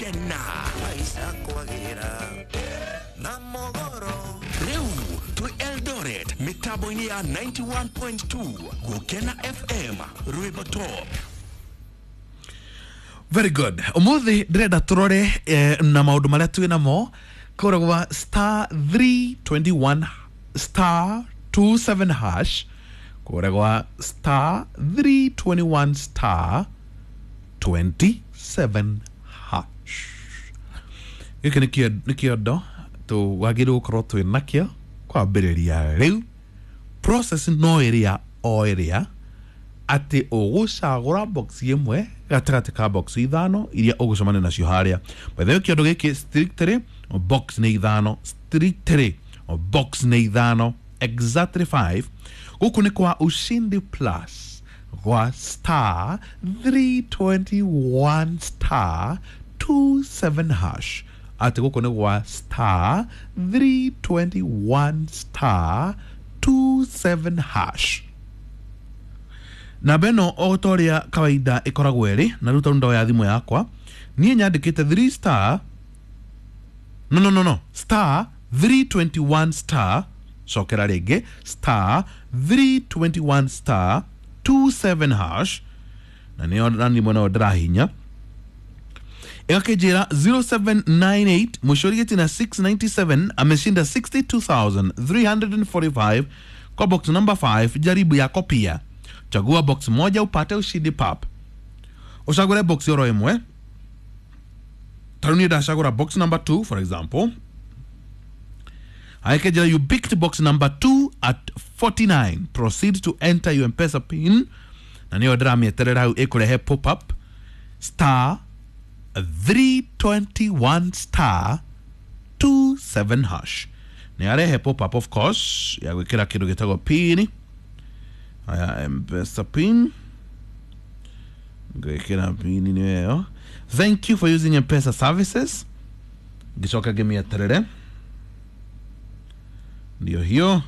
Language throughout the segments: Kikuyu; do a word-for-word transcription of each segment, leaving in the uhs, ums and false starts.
Gũkena. Maisha kwagĩra na mogoro. Rĩu twĩ Eldoret mĩtambo-inĩ ya ninety-one point two Gũkena F M, rwĩmbo top. Very good. Umuthi ndĩrenda tũrore eh, na maũndũ marĩa twĩ namo kũrĩa gwa star three twenty-one star twenty-seven hash, kũrĩa gwa star three twenty-one star twenty-seven hash. Gĩkĩ nĩ kĩo- nĩ kĩondo tũwagĩrĩirwo gũkorwo twĩ nakĩo kwambĩrĩria rĩu. Process no ĩrĩa o ĩrĩa atĩ ũgũcagũra box ĩmwe gatagatĩ ka box ithano iria ũgũcemania nacio harĩa. By the way, kĩondo gĩkĩ strictly box nĩ ithano, strictly box nĩ ithano, exactly five. Gũkũ nĩ kwa Ushindi Plus, gwa star three twenty-one star twenty-seven hash, atĩ gũkũ nĩ gwa star three twenty-one star twenty-seven hash. Namba ĩno o ta ũrĩa kawaida ĩkoragwo ĩrĩ na rĩu tondũ ndoya thimũ yakwa niĩ nyandĩkĩte three star, no no no no star three twenty-one star, cokera rĩngĩ, star three twenty-one star twenty-seven hash, na nĩyo nani mwena ũyũ ndĩrahinya ĩgakĩnjĩra zero seven nine eight mũico rigĩti na six ninety-seven ameshinda sixty-two thousand three hundred forty-five kwa box number five. Jaribu yako pia, chagua box moja upate ushindi pap. Ucagũre box oro ĩmwe. Tarĩu niĩ ndacagũra box number two, for example. Aikejera, "You picked box number two at forty-nine. Proceed to enter your M-Pesa PIN." Na nĩyo ndĩramĩeterera hau ĩkũrehe pop up, star three twenty-one star twenty-seven hash. Nĩ arehe pop up, of course, ya gwĩkĩra kĩndũ gĩtagwo PIN. Aya, M-Pesa PIN, ngwĩkĩra PIN nĩ ĩyo. "Thank you for using M-Pesa services." Ngĩcoka ngĩmĩeterere, ndio hiyo,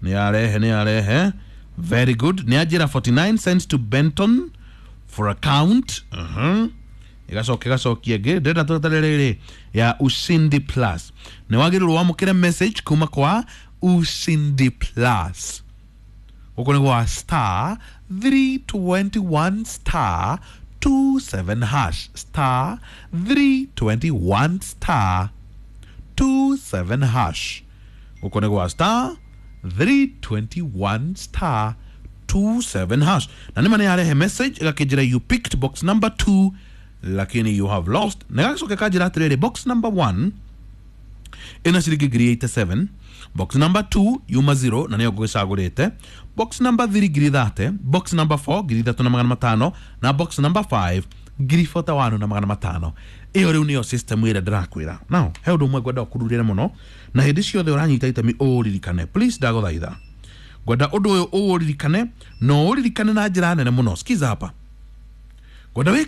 nĩ arehe, nĩ arehe. Very good. Nĩ anjĩra forty-nine sent to Benton for account. uh -huh. Igacoka igacokia ĩngĩ. Ndĩrenda tũretere rĩrĩ ya Ushindi Plus. Nĩ wagĩrĩirwo wamũkĩre message kuma kwa Ushindi Plus. Gũkũ nĩ gwa star three twenty-one star twenty-seven hash, star three twenty-one star twenty-seven hash. Gũkũ nĩ gwa star three twenty-one star twenty-seven hash, na nĩma nĩ yarehe message ĩgakĩnjĩra, "You picked box number two, lakini you have lost." Na gagacoka kanjĩra atĩrĩrĩ, box number one ĩna ciringi ngiri eighty-seven, box number two yuma zero na nĩyo ngũgĩcagũrĩte, box number three ngiri thirty, box number four ngiri ithatũ na magana matano, na box number five ngiri forty-one na magana matano. Ĩyo rĩu nĩyo system ĩrĩa ndĩrakwĩra. Now he ũndũ ũmwe ngwenda ũkururĩre mũno na hĩndĩ ciothe ũranyita itemi ũũririkane. Please, ndagũthaitha, ngwenda ũndũ ũyũ ũũririkane na ũũririkane na njĩra nene mũno. Sikiza hapa, ngwenda wĩke